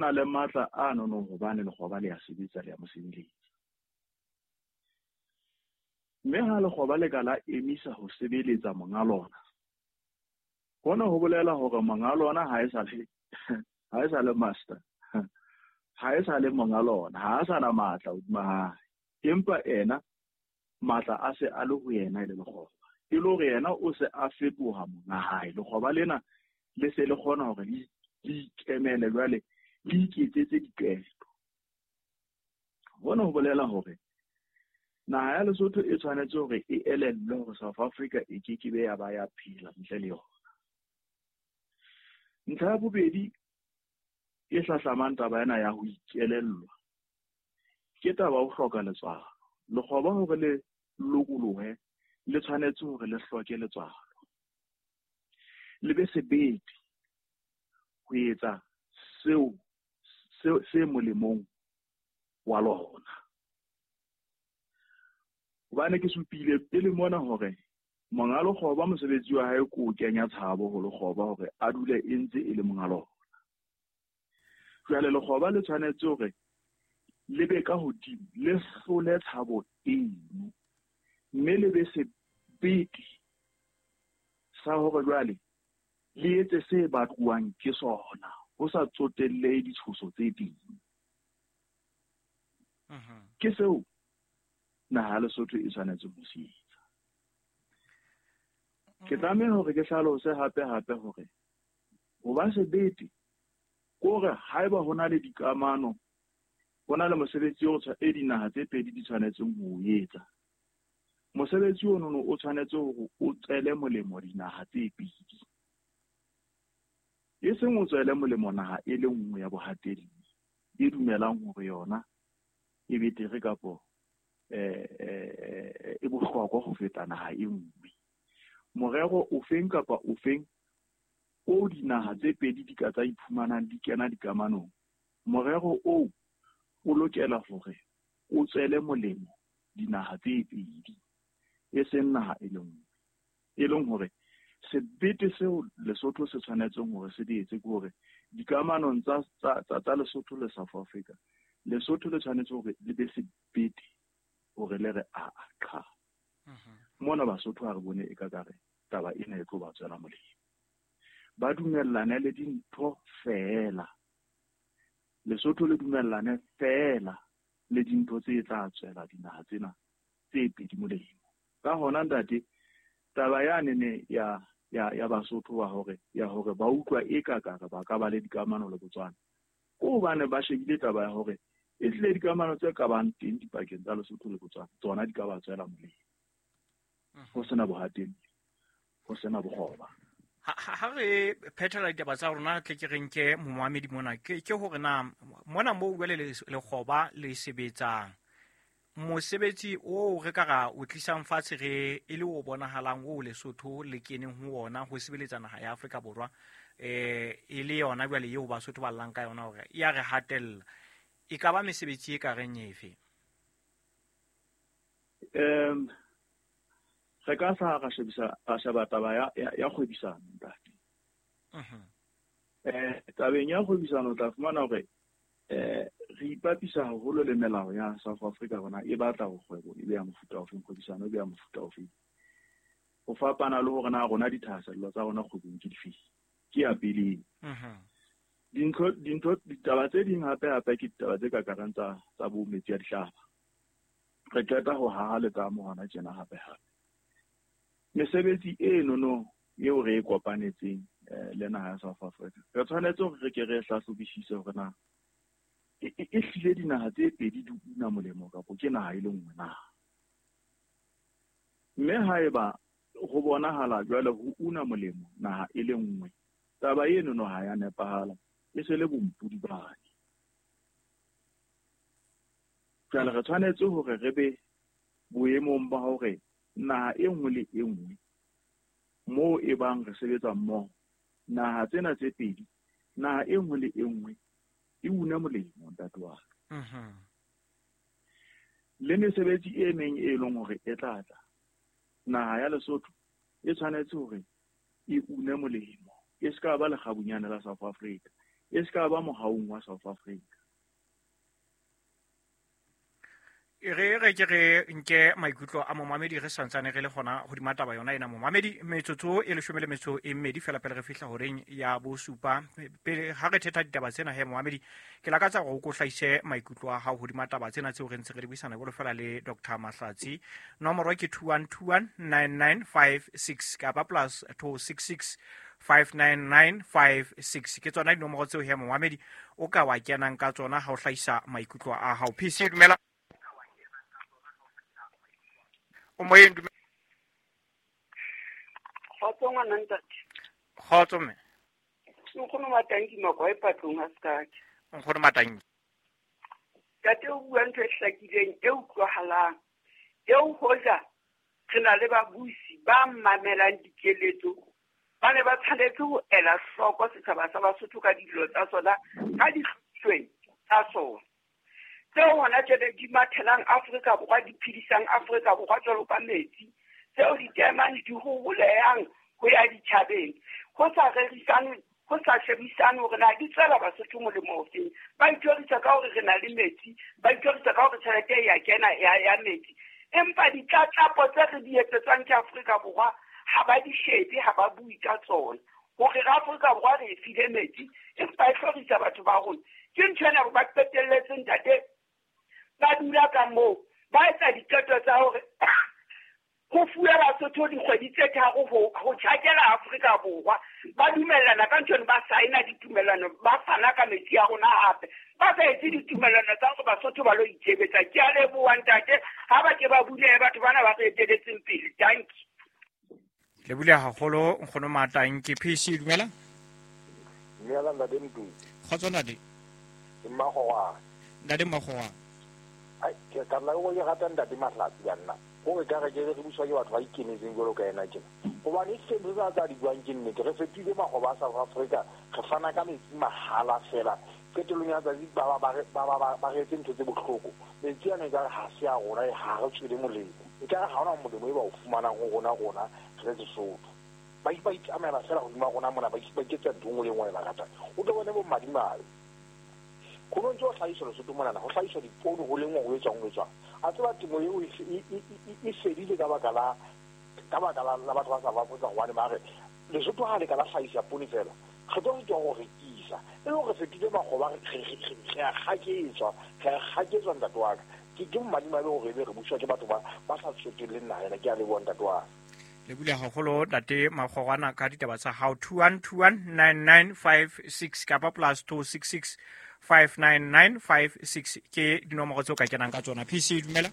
Na le matla a nono hobane lekgoba le a sebetsa, le a mo sebeletsa. Mme ha lekgoba le ka la emisa ho sebeletsa monga lona, hona ho bolela hore monga lona ha e sa le ha e sa le master, ha e sa le monga lona, ha a sa na matla hodima hae. Empa ena matla a se a le ho yena e le lekgoba. E le hore yena o se a fetoha monga hae. Lekgoba lena le se le kgona hore le ikemele jwale, le iketsetse diqeto. Hona ho bolela hore naha ya Lesotho e tshwanetse hore e elellwe hore South Africa e ke ke be ya ba ya phela ntle le yona. Ntlha ya bobedi e hlahlamang taba ena ya ho ikelellwa ke taba ho hloka letswalo. Lekgoba hore le lokolohe le tshwanetse hore le hloke letswalo, le be sebete ho etsa seo se molemong wa lona. Hobane ke supile pele mona hore monga lekgoba mosebetsi wa hae ke ho kenya tshabo ho lekgoba hore a dule e ntse e le monga lona. Jwale lekgoba le tshwanetse hore le be ka hodimo, le hlole tshabo eno, mme le be sebete sa hore jwale le etse se batluwang ke sona, ho sa tsotellehe ditshoso tse ding. Ke seo naha ya Lesotho e tshwanetse ho se etsa. Ke tlameha hore ke hlalose hape hape hore ho ba sebete ke hore haeba ho na le dikamano, ho na le mosebetsi o e dinaha tse pedi di tshwanetseng ho o etsa. Mosebetsi ono o tshwanetse hore o tswele molemo dinaha tse pedi. E seng o tswele molemo naha e le nngwe ya bohatelli e dumelang hore yona e betere kapo e bohlokwa ho feta naha e nngwe. Morero ofeng kapa ofeng o dinaha tse pedi di ka tsa iphumanang di kena dikamanong, morero oo o lokela hore o tswele molemo dinaha tse pedi, e seng naha e le nngwe. E leng hore sebete seo Lesotho se tshwanetseng hore se di etse ke hore dikamanong tsa Lesotho le South Africa, Lesotho le tshwanetse hore le be sebete hore le re a qha. Mona Basotho ha re bone e ka kare taba ena e tlo ba tswela molemo. Ba dumellane le dintho feela. Lesotho le dumellane feela le dintho tse tla tswela dinaha tsena tse pedi molemo. Ka hona ntate, taba yane ne ya Basotho wa hore ya hore ba utlwa e ka kare ba ka ba le dikamano le Botswana, ke hobane ba shebile taba ya hore e tlile dikamano tse ka bang teng dipakeng tsa Lesotho le Botswana, tsona di ka ba tswela molemo. Ho sena bohatelli, ho sena bokgoba. Ha re phethela ditaba tsa rona, tle ke re nke momamedi mona, ke hore na mona moo jwale lekgoba le sebetsang, mosebetsi oo re ka ra o tlisang fatshe re e le o bonahalang o Lesotho le keneng ho ona ho sebeletsa naha ya Afrika Borwa, e le yona jwale eo Basotho ba llang ka yona hore ya re hatella, e ka ba mesebetsi e ka reng efe? Re ka sa ra shebisa, ra sheba taba ya kgwebisano, ntate. Tabeng ya kgwebisano o tla fumana hore re ipapisa haholo le melao ya South Africa rona e batla hore kgwebo e be ya mofuta ofeng, kgwebisano e be ya mofuta ofeng. Ho fapana le hore na rona dithahasello tsa rona kgwebong ke dife, ke ya pele. Ditaba tse ding hape hape ke ditaba tse ka kareng tsa bo metsi a dihlaba. Re qeta ho haha letamo hona tjena hape hape. Mesebetsi e nono eo re e kopanetseng le naha ya South Africa, re tshwanetse hore re ke re hlahlobisise hore na e hlile dinaha tse pedi di una molemo kapo ke naha e le nngwe na. Mme haeba ho bonahala jwale ho una molemo naha e le nngwe, taba eno no ha ya nepahala, e se le bompodi bane. Jwale re tshwanetse hore re be boemong ba hore naha e nngwe le e nngwe moo e bang re sebetsa mmoho, naha tsena tse pedi, naha e nngwe le e nngwe e una molemo, ntate wa ka. Le mesebetsi e meng e leng hore e tla tla, naha ya Lesotho e tshwanetse hore e une molemo, e se ka ba lekgabunyane la South Africa. E se ka ba mohaung wa South Africa. Re re ke re nke maikutlo a momamedi re santsane re le gona godima taba yona ena momamedi. Metsotso e 12 fela pele re fihla horeng ya bosupa. Pele ha re thetha ditaba tsena he momamedi, ke lakatsa gore o ko hlahise maikutlo a hao hodima taba tsena tseo re ntse re di buisana jwalo fela le Dr. Mahlatsi. Nomoro ke 21219956 kapa plus 266 59956. Ke tsona dinomoro tseo he momamedi o ka wa kenang ka tsona ha o hlahisa maikutlo a hao. PC, dumela. O moyeng, dumela. Kgotso ngwana ntate. Kgotso mme. Nkgono Matanki Makwa e patlong ha sekake. Nkgono Matanki. Ntate o bua ntho e hlakileng e utlwahalang. Eo hoja re na le babusi ba mamelang dikeletso, ba ne ba tshwanetse ho ela hloko setjhaba sa Basotho ka dillo tsa sona, ka dihlweng tsa sona. Tseo hona jwale di mathelang Afrika Borwa, di phedisang Afrika Borwa jwalo ka metsi, tseo ditaemane di hoholehang ho ya ditjhabeng, ho sa rerisane, ho sa shebisane hore na di tswela Basotho molemo ofeng. Ba ithorisa ka hore re na le metsi, ba ithorisa ka hore tjhelete e ya kena ya metsi, empa ditlatlapo tse re di etsetswang ke Afrika Borwa ha ba di shebe, ha ba bue ka tsona. Hore re Afrika Borwa re e file metsi, empa e hlorisa batho ba rona. Ke ntho ena ba qetelletse ntate ba dula ka moo, ba etsa diqeto tsa hore ho fuwe Basotho dikgwedi tse tharo ho tjhakela Afrika Borwa. Ba dumellana ka ntho eno, ba saena ditumellano, ba fana ka metsi a rona hape. Ba sa etse ditumellano tsa hore Basotho ba lo itshebetsa. Ke a leboha ntate, ha ba ke ba bulehe batho bana ba re eteletseng pele. Dankie. Le bule haholo nkgono Matanki. PC, dumela. Dumela ntate Mdu. Kgotso ntate. Ke Mmakgorwana. Ntate Mmakgorwana. Ai, ke ka nna ke rata ntate Mahlatsi ka nna. Hore ka re ke re buswa ke batho ba ikemetseng jwalo ka yena tjena. Hobane e sentse tsa di buang ke nnete. Re fetohile makgoba a South Africa, re fana ka metsi mahala fela. Qetellong ya tsatsi ba re etse ntho tse bohloko. Metsi ana ekare ha se a rona, ha re tswele molemo. Ekare ha hona molemo e ba o fumanang ho rona re le Sesotho. Ba itsamaela fela hodima rona mona, ba iketsa ntho e nngwe le e nngwe e ba ratang. O tlo bone bo madimabe. Ho no ntse ho hlahiswa Lesotho monana, ho hlahiswa dipoone ho lengwa ho etswang, ho etswang. A tseba temo eo e fedile ka baka la batho ba South Africa, hobane ba re Lesotho ha le ka la hlahisa poone fela, re tlo sitwa ho rekisa. E le hore re fetohile makgoba, re a kgaketswa ntate wa ka. Ke madimabe hore ebe re buswa ke batho ba sa tsotelleng naha ena. Ke a leboha ntate wa ka. Le bule haholo ntate Makgorwana ka ditaba tsa hao. 21219956 kapa plus 266 59956 ke dinomoro tseo ka kenang ka tsona. PC, dumela.